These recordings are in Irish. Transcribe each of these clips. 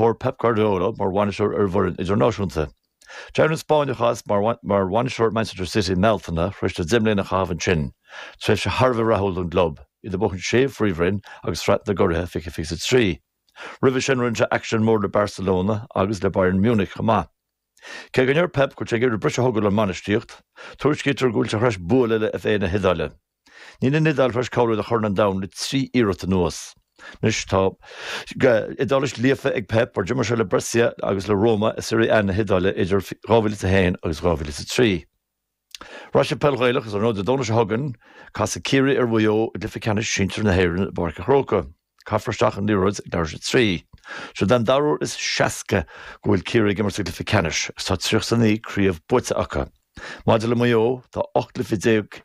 thóir Pep Guardiola mar bhainisteoir ar an bhfoireann idirnáisiúnta. D'éirigh an Spáinneach as mar bhainisteoir Manchester City i mBealtaine tar éis dó 10 mbliana a chaitheamh ansin, tréimhse thar a bheith rathúil don gclub, iad ag buachan sé phríomhroinn agus Sraith na gCuraithe 2023. Roimhe sin rinne sé aicsean mór le Barcelona agus le Bayern Munich chomh maith. Cé go ndeir Pep go bhfuil sé ag iarraidh briseadh a thógáil ón mbainistíocht, tuairiscítear go bhfuil sé tar éis bualadh le FA na hIodáile. Níl an Iodáil tar éis cáiliú do Chorn an Domhain le 3 iarracht anuas. Anois tá Iodáilis líofa ag Pep mar d'imir sé le Brescia agus le Roma i Serie A na hIodáile idir 2001 agus 2003. Raise Peil Ghaelach is ar ndóigh Dé Domhnaigh seo chugainn, casfaidh Ciarraí ar Mhaigh Eo i gcluiche ceannais sinsir na hÉireann i bPáirc an Chrócaigh. Caithfear isteach an liathróid ag leathuair tar éis a 3. Seo an dara huair is 60 go bhfuil Ciarraí ag imirt sa gcluiche ceannais agus tá 39 craobh buaite acu. Maidir le Maigh Eo, tá 18 gcluiche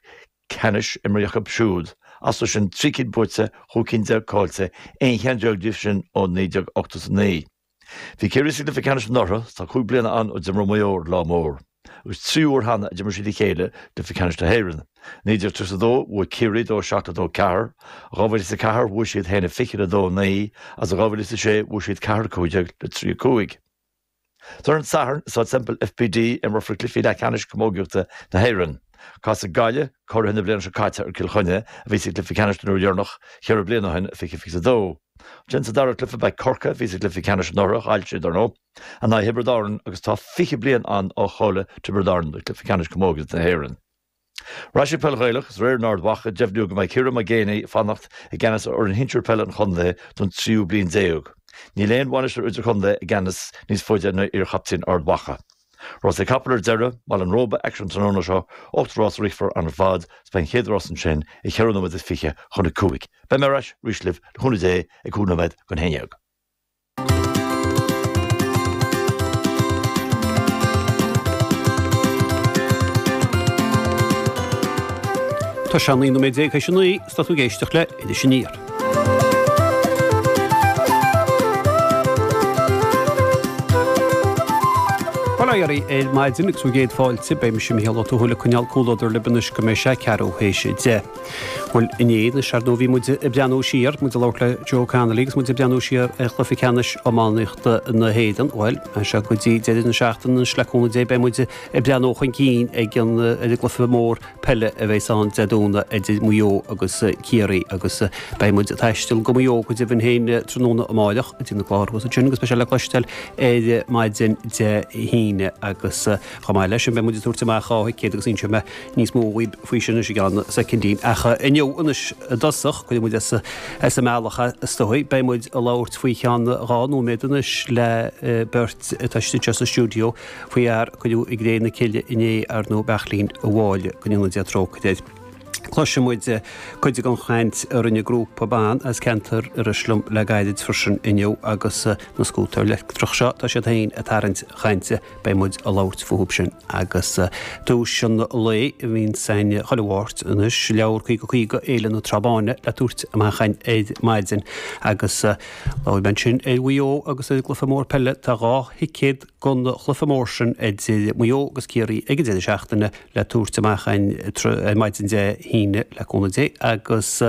ceannais imeartha acu siúd, astu sin 3 cinn buaite, 15 cinn caillte, 11 cheann díobh sin ó 1989. Bhí Ciarraí sa gcluiche ceannais anuraidh, tá 5 bliana ann ó d'imir Maigh Eo ar an lá mór, agus tríú huair cheana a d'imir siad a chéile i gcluiche ceannais na hÉireann. 1932, bhuaigh Ciarraí 2 7 le 2 4, 2004, bhuaigh siad 1 20 le 2 9, agus 2006, bhuaigh siad 4 15 le 3 5. Ar an Satharn, i Staid Semple FBD, imreofar cluichí leathcheannais camógaíochta na hÉireann. Casfaidh Gaillimh, curaithe na bliana seo caite, ar Cill Chainnigh, a bhí sa gcluiche ceannais den uair dheireanach cheithre bliana ó shin, 2022. Ansin sa dara cluiche beidh Corcaigh, a bhí sa gcluiche ceannais anuraidh, chaill siad, ar ndóigh, in aghaidh Thiobraid Árann agus tá 20 bliain ann ó chaill Tiobraid Árann do chluiche ceannais camógaíochta na hÉireann. Ar ais ag peil Ghaelach, is aréir in Ard Mhacha, deimhníodh go mbeidh Ciarán Mac Géibheannaigh ag fanacht i gceannas ar fhoireann shinsir peile an chontae don tríú bliain déag. Níl aon bhainisteoir idirchontae i gceannas níos faide ná iarchaptaen Ard Mhacha. Rásaí capall ar deireadh, Baile an Róba, aicsean an tráthnóna seo, 8 rás a rithfear ann ar fad, is beidh an chéad rás ansin ag cheithre nóiméad is fiche chun a cúig. Beidh mé ar ais arís libh, le cúnamh Dé, ag cúig nóiméad don haon dhéag. Tá sé 19 nóiméad théis a naoi, is tá tú ag éisteacht le Iris Aniar. Bail ó Dhia oraibh ar maidin agus bhur gcéad fáilte. Beidh mise Mícheál Ó Tuathail ag coinneáil comhluadar libh anois go mbeidh sé ceathrú théis a 10. Bhuel, inné anois ar ndóigh bhí muid ag breathnú siar, muid ag labhairt le Joe Connolly agus muid ag breathnú siar ar chluiche ceannais iománaíochta na hÉireann. Bhuel, as seo go dtí deireadh na seachtaine anois le cúnamh Dé beidh muid ag breathnú chun cinn ag an ar an gcluiche mór peile a bheas ann Dé Domhnaigh idir Maigh Eo agus Ciarraí agus beidh muid ag taisteal go Maigh Eo go deimhin féin tráthnóna amáireach go dtí na cláir thuas ansin agus beidh sé le cloisteáil ar maidin Dé hAoine agus chomh maith leis sin beidh muid ag tabhairt amach dhá thicéad agus inseoidh mé níos mó dhaoibh faoi sin anois i gceann soicindín. Ach inniu anois i dtosach, cuirfidh muid as as an mbealach is dóigh, beidh muid ag labhairt faoi cheann dhá nóiméad anois le beirt atá istigh anseo sa stiúideo faoi fhear a cuireadh i gcré na cille inné, ar ndóigh, Beairtlín a' Mháille, go ndéana Dia trócaire air. Cloisfidh muid cuid den chaint a rinne grúpa ban as ceantar Iorrais liom le gairid freisin inniu agus na scútair leictreach seo, tá siad féin ag tarraingt chainte, beidh muid ag labhairt fúthu sin. Agus duais an lae a bhíonns againn chuile Mháirt anois, leabhar 50 50 Fhéile na Trá Báine le tabhairt amach againn ar maidin agus labhair mé ansin ar Mhaigh Eo agus ar an gcluiche mór peile, tá dhá thicéad don chluiche mór sin idir Maigh Eo agus Ciarraí ag an deireadh seachtaine le tabhairt amach againn ar maidin Dé hAoine le cúnamh Dé agus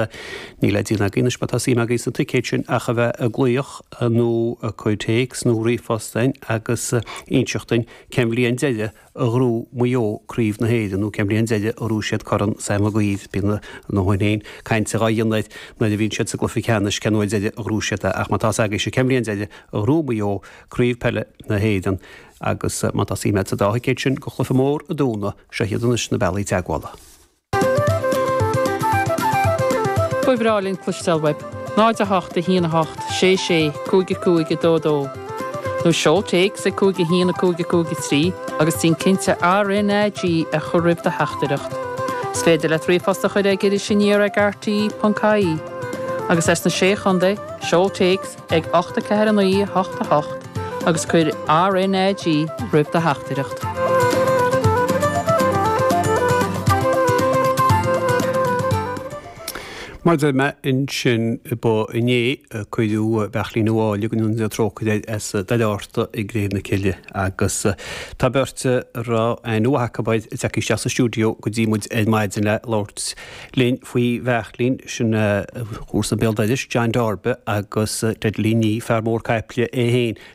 níl le déanamh agaibh anois má tá suim agaibh sna ticéid sin ach a bheith ag glaoch nó ag cur téacs nó ríomhphost chugainn agus inseacht dúinn cén bhliain deireadh a ghnóthaigh Maigh Eo Craobh na hÉireann nó cén bhliain deireadh a ghnóthaigh siad Corn Sam Maguire. Bíonn a ndóthain féin cainte dhá dhéanamh air nuair a bhíonn siad sa gcluiche ceannais cén uair deireadh a ghnóthaigh siad é ach má tá fhios agaibhse cén bhliain deireadh a ghnóthaigh Maigh Eo Craobh Peile na hÉireann agus má tá suim agat sa dá thicéad sin go chluiche mór an Domhnaigh, seo iad anois na bealaí teagmhála. Ba bhreá linn cloisteáil uaibh. 0 8 1 8 6 6 5 5 2 2 Nó seol téacs ag 5 1 5 5 3 agus déan cinnte RNAG a chur roimh do theachtaireacht. Is féidir leat ríomhphost a chur ag irisaniar ag rte.ie. Agus as na Sé Chontae, seol téacs ag 8 4 9 8 8 agus cuir RNAG roimh do theachtaireacht. Mar a deir mé ansin ba inné a cuireadh Beairtlín Ó Áille go ndéana Dia trócaire air as Doire Fhatharta i gcré na cille agus tá beirt a raibh aithne mhaith acu air tagtha isteach sa stiúideo go dtí muid ar maidin le labhairt linn faoi Bheairtlín, sin comharsa béal dorais, John Darby agus Deadly Nee, fear mór caiple é féin.